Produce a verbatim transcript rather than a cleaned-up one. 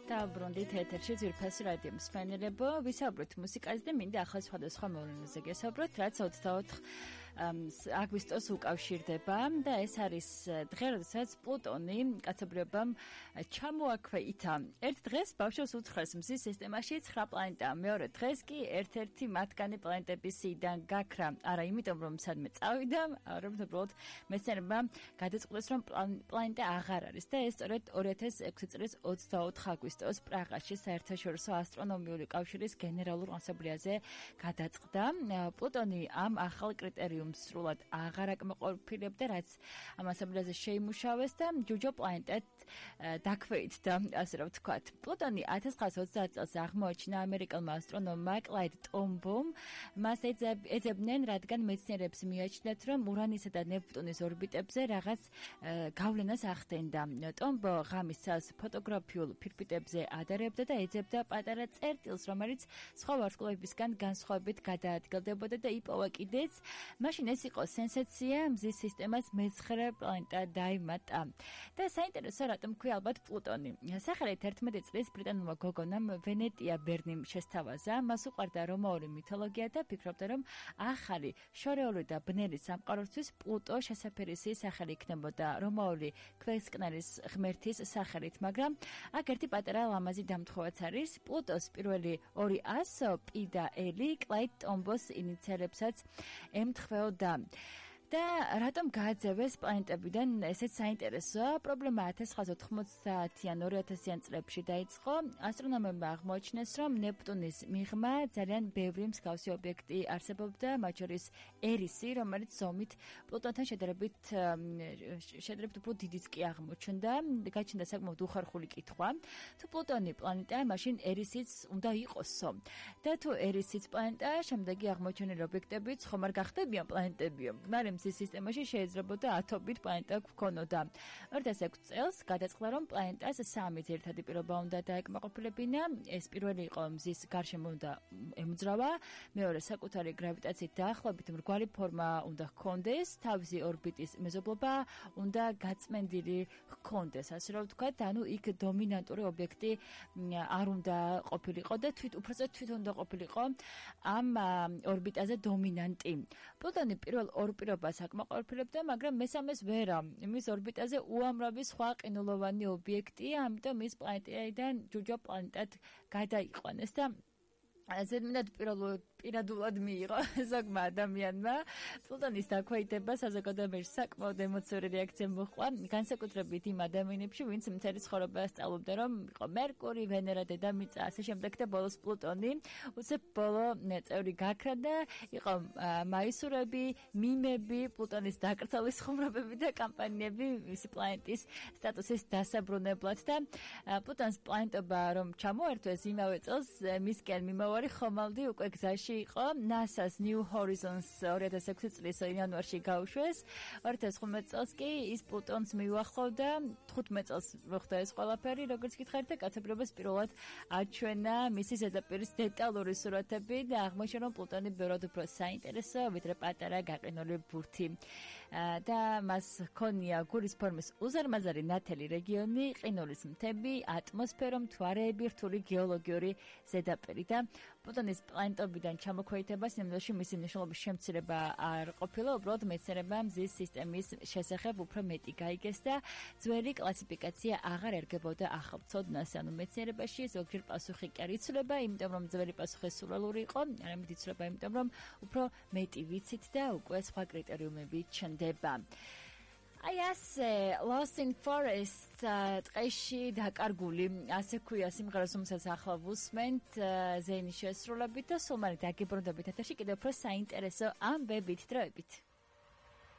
დაბრუნდით ეთერში ძვირფასი რადიო მსმენელებო, ვისაუბრეთ მუსიკაზე და მინდა ახლა სხვადასხვა მოვლენაზე გესაუბროთ, რაც ოცდაოთხ აგვისტოს უკავშირდება და ეს არის დღე, როდესაც პლუტონი კაცობრიობამ ჩამოაქვეითა. ერთ დღეს ბავშვებს უთხრეს მზის სისტემაში ცხრა პლანეტა, მეორე დღეს კი ერთ-ერთი მათგანი პლანეტების სიიდან გაქრა. არა იმიტომ, რომ სადმე წავიდა, არამედ უბრალოდ მეცნიერებმა გადაწყვეტეს, რომ პლანეტა აღარ არის და ეს სწორედ ორი ათას ექვსი წლის ოცდაოთხ აგვისტოს პრაღაში საერთაშორისო ასტრონომიული კავშირის გენერალურ ასამბლეაზე გადაწყდა. პლუტონი ამ ახალ კრიტერიუმს სრულად აღარ აკმაყოფილებდა, რაც ამ ასამბლეაზე შეიმუშავეს და ჯუჯო პლანეტად დაქვეითდა, ასე რომ ვთქვათ. პლუტონი ათას ცხრაასა ოცდაათ წელს აღმოაჩინა ამერიკელმა ასტრონომმა კლაიდ ტომბომ. მას ეძებდნენ, რადგან მეცნიერებს მიაჩნდათ, რომ ურანისა და ნეპტუნის ორბიტებზე რაღაც გავლენას ახდენდა. ტომბო ღამის წელს ფოტოგრაფიულ ფირფიტებზე ადარებდა და ეძებდა პატარა წერტილს, რომელიც სხვა ვარსკვლავებისგან განსხვავებით გადაადგილდებოდა და იპოვა კიდეც. მაშინ ეს იყო სენსაცია, მზის სისტემას მეცხრე პლანეტა დაიმატა. და საინტერესო, რატომ ქვია ალბათ პლუტონი. სახელით ერთმეტი წლის ბრიტანულმა გოგონამ ვენეტია ბერნიმ შესთავაზა, მას უყვარდა რომაული მითოლოგია და ფიქრობდა, რომ ახალი შორეული და ბნელი სამყაროსთვის პლუტო შესაფერისი სახელი იქნებოდა რომაული ქვესკნერის ღმერთის სახელით, მაგრამ აქ ერთი პატარა ლამაზი დამთხოვაც არის. პლუტოს პირველი ორი ასო პი და ელი კლაიდ ტომბოს ინიციალებსაც ემთხვეოდა. და რატომ გააძევეს პლანეტებიდან, ესეც საინტერესოა. პრობლემა ათას ცხრაასა ოთხმოცდაათიან ორი ათასიან წლებში დაიწყო. ასტრონომებმა აღმოაჩინეს, რომ ნეპტუნის მიღმა ძალიან ბევრი მსგავსი ობიექტი არსებობდა, მათ შორის ერისი, რომელიც ზომით პლუტონთან შედარებით შედარებით უფრო დიდიც კი აღმოჩნდა. გაჩნდა საკმაოდ უხარხული კითხვა, თუ პლუტონი პლანეტაა, მაშინ ერისიც უნდა იყოსო. და თუ ერისიც პლანეტაა, შემდეგი აღმოჩენილი ობიექტებიც ხომ არ გახდებიან პლანეტებიო. მაგრამ მზის სისტემაში შეიძლებოდა ათობით პლანეტა გვქონოდა. ორი ათას ექვსი წელს გადაწყდა, რომ პლანეტას სამი ძირითადი პირობა უნდა დაეკმაყოფილებინა. ეს პირველი იყო მზის გარშემო უნდა ემოძრავა, მეორე საკუთარი გრავიტაციით დაახლოებით მრგვალი ფორმა უნდა ჰქონდეს, თავისი ორბიტის მეზობლობა უნდა გაწმენდილი ჰქონდეს, ასე რომ ვთქვათ, ანუ იქ დომინანტური ობიექტი არ უნდა ყოფილიყო და თვით უბრალოდ თვითონ უნდა ყოფილიყო ამ ორბიტაზე დომინანტი. პლუტონი პირველ ორ პირობას აკმაყოფილებდა, მაგრამ მესამეს ვერა. მის ორბიტაზე უამრავი სხვა ყინულოვანი ობიექტია, ამიტომ ის პლანეტიდან ჯუჯო პლანეტად გადაიყვანეს და ზედმეტად პირადულად მიიღო ზოგმა ადამიანმა. პლუტონის დაქვეითება საზოგადოებაში საკმაოდ ემოციური რეაქცია მოჰყვა, განსაკუთრებით იმ ადამიანებში, ვინც მთელი ცხოვრება სწავლობდა, რომ იყო მერკური, ვენერა, დედამიწა, ასე შემდეგ და ბოლოს პლუტონი. უცებ ბოლო წევრი გაქრა და იყო მაისურები, მიმები, პლუტონის დაკრძალვის ხუმრობები და კამპანიები მისი პლანეტის სტატუსის დასაბრუნებლად და პლუტონის პლანეტობა რომ ჩამოერთვეს იმავე წელს მისკენ მიმავალი ხომალდი უკვე გზაში იყო. ნასას New Horizons ორი ათას ექვსი წლის იანვარში გაუშვეს. ორი ათას ხუთმეტ წელს კი ის პლუტონს მიუახლოვდა. თხუთმეტ წელს მოხდა ეს ყველაფერი, როგორც გითხარით და კაცობრიობას პირველად აჩვენა მისი ზედაპირის დეტალური სურათები და აღმოჩნდა, რომ პლუტონი ბევრად უფრო საინტერესოა, ვიდრე პატარა გაყინული ბურთი. და მას ჰქონია გულის ფორმის უზარმაზარი ნათელი რეგიონი, ყინულის მთები, ატმოსფერო, მთვარეები, რთული გეოლოგიური ზედაპირი და პლუტონის პლანეტობიდან ჩამოქვეითებას ნამდვილში მისი მნიშვნელობის შემცირება არ ყოფილა, უბრალოდ მეცნიერებმა მზის სისტემის შესახებ უფრო მეტი გაიგეს და ძველი კლასიფიკაცია აღარ ერგებოდა ახალ ცოდნას. ანუ მეცნიერებაში ზოგჯერ პასუხი კი არ იცვლება, იმიტომ რომ ძველი პასუხი სულელური იყო, არამედ იცვლება იმიტომ რომ უფრო მეტი ვიცით და უკვე სხვა კრიტერიუმები ჩნდება. აი ასე, Lost in Forest ტყეში დაკარგული, ასე ქვია სიმღერას, რომელსაც ახლა ვუსმენთ ზეინის შესრულებით და სულ მალე დაგიბრუნდებით ეთერში კიდევ უფრო საინტერესო ამბებით, დროებით.